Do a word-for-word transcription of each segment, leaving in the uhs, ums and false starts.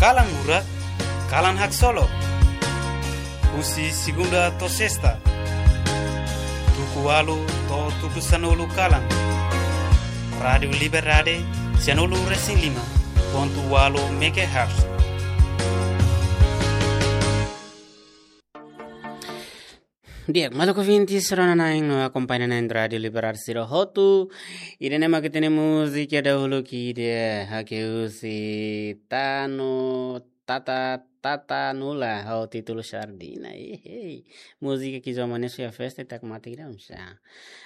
Kalan Murak, kalan haksolok. Husi segunda to'o sesta, tuku ualu to'o tuku sanulu kalan. Rádiu Liberdade, sanulu resin lima pontu ualu megahertz. Di'ak, maluk ouvintes, rona-na'in no akompaña-na'in Rádiu Liberdade sira hotu. Ida-ne'e mak ita-nia múzika dahuluk ida, hakerek husi Tanu Tata Tata Nula ho títulu Sardina. Ehei. Múzika ke zaman ne'e sua festa tak mati kira unsa.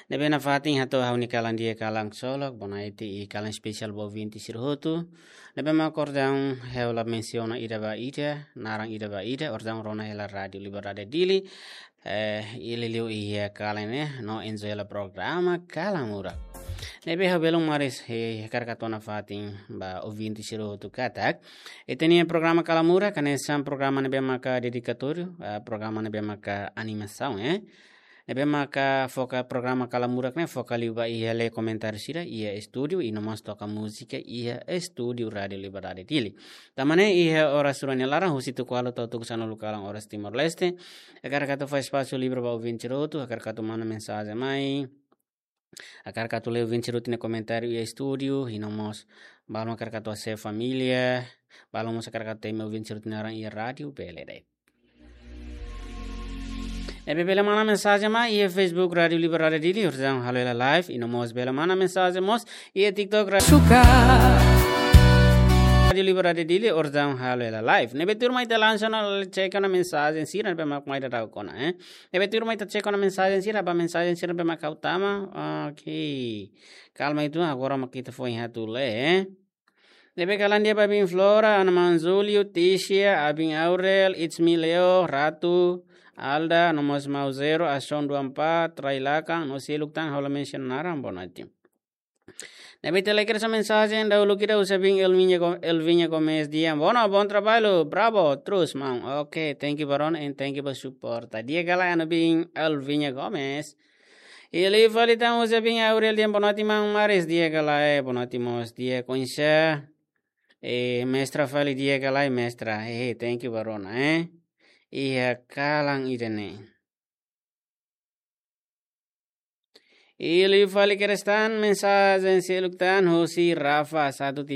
Ne'ebé nafatin hato'o ha'u-nia kalan di'ak, kalan solok, bonaiti i kalan espesiál ba ouvinte sira hotu. Ne'ebé mak orsida ha'u la mensiona ida ba ida, naran ida ba ida, orsida rona hela Rádiu Liberdade Dili. Eh, i liuliu iha kalan ne'e, no enjoy hela programa Kalan Murak. Ne'ebé ha'u belun maris, eh, hakarak hato'o nafatin ba ouvinte sira hotu katak ita-nia programa Kalan Murak hanesan programa ne'ebé maka dedikatóriu, eh, programa ne'ebé maka animasaun, eh. Ne'ebé maka foka programa Kalan Murak ne'e foka liu ba iha lee komentáriu sira iha estúdiu, i no mós toka múzika iha estúdiu Rádiu Liberdade Dili. Tanba ne'e iha oras rua nia laran husi tuku ualu to'o tuku sanulu kalan oras Timor-Leste, hakarak atu fó espasu livre ba ouvinte sira hotu, hakarak atu manda mensajen mai, hakarak atu lee ouvinte sira hotu nia komentáriu iha estúdiu, i no mós balu hakarak atu hasees família, balu mós hakarak atu temi ouvinte sira hotu nia naran iha rádiu, bele de'it. Ne'ebé bele manda mensajen mai iha Facebook Rádiu Liberdade Dili, orsida halo hela live, i no mós bele manda mensajen mós iha TikTok Ra-, Suka. Rádiu Liberdade Dili, orsida halo hela live. Ne'ebé tuirmai ita langsung ona check ona mensajen sira ne'ebé mak mai daudaun ona, eh. Ne'ebé tuirmai ita check ona mensajen sira, ba mensajen sira ne'ebé mak ha'u tama. Oke. Kalma uitoan, agora mak ita foin atu lee, eh. Ne'ebé kalan di'ak ba Bin Flora, Ana Maun Julio, Tisha, Abin Aurel, It's Me Leo, Ratu, Alda, no mós Mau Zero, Ason dua empat, Rai Lakan, no seluk tan ha'u la mensiona naran, bonaiti. Ne'ebé ita lee kedas mensajen dahuluk ida husi Abin Elviña Go-, Elviña Gomes, di'ak, bono, bom trabalho, bravo, terus, maun. Oke, thank you ba rona, and thank you ba suporta. Di'ak ka lae, Ana Bin Elviña Gomes. I liu fali tan husi Abin Aurel, di'ak, bonoite maun maris, di'ak ka lae, bonoite mós, di'ak, oinsá. Eh, mestra fali, di'ak ka lae, mestra. Eh, thank you ba rona, eh. Iha kalan ida-ne'e. I liu fali kedas tan mensajen seluk tan husi Rafa satu tiga